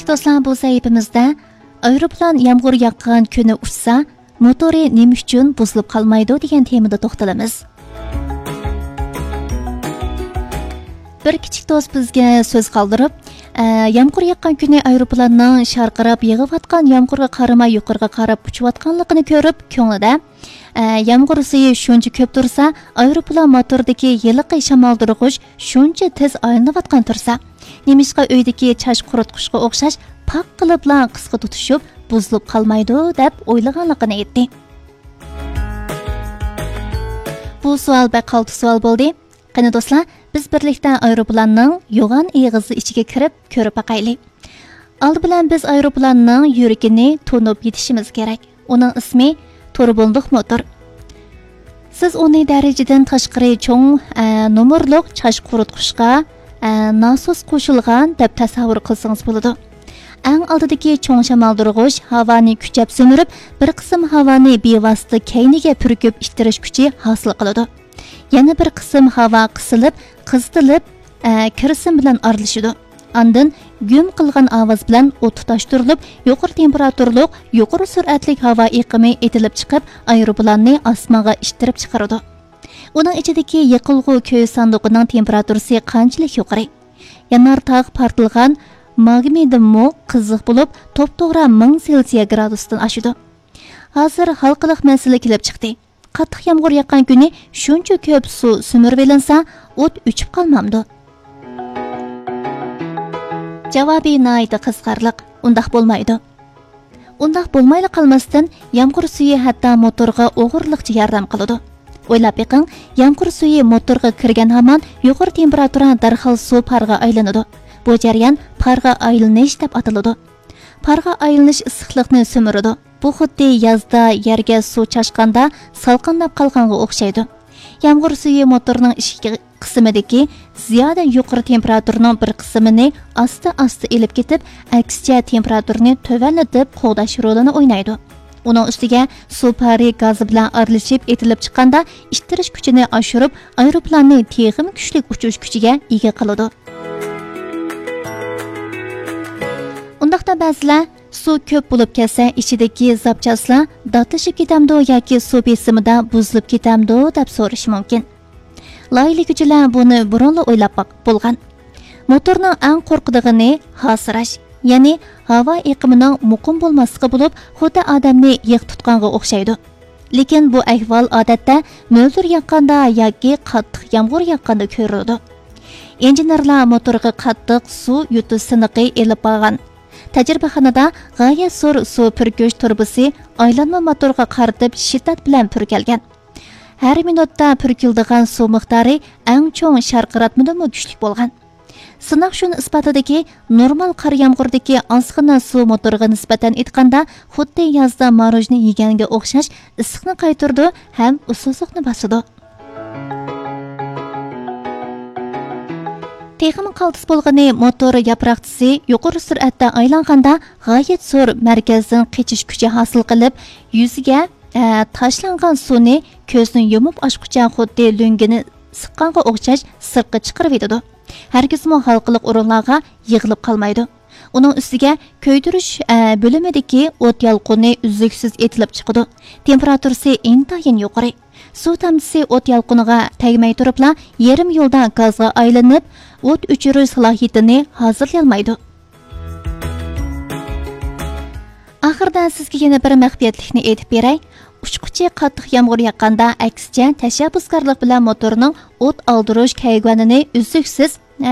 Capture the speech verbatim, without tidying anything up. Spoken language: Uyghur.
دوستلار، بۇ سەھىپىمىزدە ئايروپىلان يامغۇر ياغقان كۈنى ئۇچسا، موتورى نېمە ئۈچۈن بۇزۇلۇپ قالمايدۇ دېگەن تېمىدا توختىلىمىز. بىر كىچىك دوست بىزگە سۆز قالدۇرۇپ، ئە، يامغۇر ياغقان كۈنى ئايروپىلاننىڭ شارقىراپ يېغىۋاتقان يامغۇرغا قارىماي يۇقىرىغا قاراپ ئۇچۇۋاتقانلىقىنى كۆرۈپ، كۆڭلىدە، ئە، يامغۇر سۈيى شۇنچە كۆپ تۇرسا، ئايروپىلان موتورىدىكى ھېلىقى شامالدۇرغۇچ شۇنچە تېز ئايلىنىۋاتقان تۇرسا، نېمىشقا ئۆيدىكى چاچ قۇرۇتقۇچقا ئوخشاش پاق قىلىپلا قىسقا تۇتۇشۇپ، بۇزۇلۇپ قالمايدۇ دەپ ئويلىغانلىقىنى ئېيتتى. بۇ سوئال بەك قالتىس سوئال بولدى. قېنى دوستلار، بىز بىرلىكتە ئايروپىلاننىڭ يوغان ئېغىزى ئىچىگە كىرىپ كۆرۈپ باقايلى. ئالدى بىلەن بىز ئايروپىلاننىڭ يۈرىكىنى تونۇپ يېتىشىمىز كېرەك. ئۇنىڭ ئىسمى تۇربۇنلۇق موتور. سىز ئۇنى دەرىجىدىن تاشقىرى چوڭ، ئە، نومۇرلۇق چاچ قۇرۇتقۇچقا، ئە، ناسوس قوشۇلغان دەپ تەسەۋۋۇر قىلسىڭىز بولىدۇ. ئەڭ ئالدىدىكى چوڭ شامالدۇرغۇچ ھاۋانى كۈچەپ سۈمۈرۈپ، بىر قىسىم ھاۋانى بىۋاسىتە كەينىگە پۈركۈپ ئىتتىرىش كۈچى ھاسىل قىلىدۇ. يەنە بىر قىسىم ھاۋا قىسىلىپ، قىزىتىلىپ، ئە، كىرسىن بىلەن ئارىلىشىدۇ. ئاندىن گۈم قىلغان ئاۋاز بىلەن ئوت تۇتاشتۇرۇلۇپ، يۇقىرى تېمپېراتۇرلۇق، يۇقىرى سۈرئەتلىك ھاۋا ئېقىمى ئېتىلىپ چىقىپ، ئايروپىلاننى ئاسمانغا ئىتتىرىپ چىقىرىدۇ. ئۇنىڭ ئىچىدىكى يېقىلغۇ كۆز ساندۇقىنىڭ تېمپېراتۇرىسى قانچىلىك يۇقىرى؟ يانار تاغ پارتلىغان ماگمىدىنمۇ قىزىق بولۇپ، توپتوغرا مىڭ سېلسىيە گرادۇستىن ئاشىدۇ. ھازىر ھالقىلىق مەسىلە كېلىپ چىقتى. قاتتىق يامغۇر ياغقان كۈنى شۇنچە كۆپ سۇ سۈمۈرۈۋېلىنسا، ئوت ئۆچۈپ قالمامدۇ؟ جاۋابى ناھايىتى قىزىقارلىق. ئۇنداق بولمايدۇ. ئۇنداق بولمايلا قالماستىن، يامغۇر سۈيى ھەتتا موتورغا ئوغرىلىقچە ياردەم قىلىدۇ. ئويلاپ بېقىڭ، يامغۇر سۈيى موتورغا كىرگەن ھامان يۇقىرى تېمپېراتۇرا دەرھال سۇ پارغا ئايلىنىدۇ. بۇ جەريان پارغا ئايلىنىش دەپ ئاتىلىدۇ. پارغا ئايلىنىش ئىسسىقلىقنى سۈمۈرىدۇ. بۇ خۇددى يازدا يەرگە سۇ چاچقاندا سالقىنداپ قالغانغا ئوخشايدۇ. يامغۇر سۈيى موتورنىڭ ئىچكى قىسمىدىكى زىيادە يۇقىرى تېمپېراتۇرىنىڭ بىر قىسمىنى ئاستا-ئاستا ئېلىپ كېتىپ، ئەكسىچە تېمپېراتۇرىنى تۆۋەنلىتىپ قوغداش رولىنى ئوينايدۇ. ئۇنىڭ ئۈستىگە سۇ پارى گازى بىلەن ئارىلىشىپ ئېتىلىپ چىققاندا، ئىتتىرىش كۈچىنى ئاشۇرۇپ، ئايروپىلاننى تېخىمۇ كۈچلۈك ئۇچۇش كۈچىگە ئىگە قىلىدۇ. ئۇنداقتا بەزىلەر، سۇ كۆپ بولۇپ كەتسە، ئىچىدىكى زاپچاسلار داتلىشىپ كېتەمدۇ ياكى سۇ بېسىمىدا بۇزۇلۇپ كېتەمدۇ دەپ سورىشى مۇمكىن. لايىھىلىگۈچىلەر بۇنى بۇرۇنلا ئويلاپ باق-، بولغان. موتورنىڭ ئەڭ قورقىدىغىنى ھاسىراش، يەنى ھاۋا ئېقىمىنىڭ مۇقىم بولماسلىقى بولۇپ، خۇددى ئادەمنى يىغ تۇتقانغا ئوخشايدۇ. لېكىن بۇ ئەھۋال ئادەتتە مۆلدۈر ياغقاندا ياكى قاتتىق يامغۇر ياغقاندا كۆرۈلىدۇ. ئىنژېنېرلار موتورغا قاتتىق سۇ يۇتۇش سىنىقى ئېلىپ بارغان. تەجرىبىخانىدا غايەت زور سۇ پۈركۈش تۇرۇبىسى ئايلانما موتورغا قارىتىپ شىددەت بىلەن پۈركەلگەن. ھەر مىنۇتتا پۈركىلىدىغان سۇ مىقدارى ئەڭ چوڭ شارقىراتمىدىنمۇ كۈچلۈك بولغان. سىناق شۇنى ئىسپاتلىدىكى، نورمال قار يامغۇردىكى ئازغىنە سۇ موتورغا نىسبەتەن ئېيتقاندا، خۇددى يازدا ماروژنى يېگەنگە ئوخشاش ئىسسىقنى قايتۇرىدۇ ھەم ئۇسسۇزلۇقنى باسىدۇ. تېخىمۇ قالتىس بولغىنى، موتور ياپراقچىسى يۇقىرى سۈرئەتتە ئايلانغاندا، غايەت زور مەركەزدىن قېچىش كۈچى ھاسىل قىلىپ، يۈزىگە، ئە، تاشلانغان سۇنى كۆزنى يۇمۇپ ئاچقۇچە خۇددى لۆڭگىنى سىققانغا ئوخشاش سىرتقا چىقىرىۋېتىدۇ. ھەرگىزمۇ ھالقىلىق ئورۇنلارغا يىغىلىپ قالمايدۇ. ئۇنىڭ ئۈستىگە كۆيدۈرۈش، ئە، بۆلۈمىدىكى ئوت يالقۇنى ئۈزلۈكسىز ئېتىلىپ چىقىدۇ. تېمپېراتۇرىسى ئىنتايىن يۇقىرى. سۇ تامچىسى ئوت يالقۇنىغا تەگمەي تۇرۇپلا يېرىم يولدا گازغا ئايلىنىپ، ئوت ئۆچۈرۈش سالاھىيىتىنى ھازىرلىيالمايدۇ. ئاخىرىدا سىزگە يەنە بىر مەخپىيەتلىكنى ئېيتىپ بېرەي. ئۇچقۇچى قاتتىق يامغۇر ياغقاندا، ئەكسىچە تەشەببۇسكارلىق بىلەن موتورنىڭ ئوت ئالدۇرۇش كەيگۈەنىنى ئۈزلۈكسىز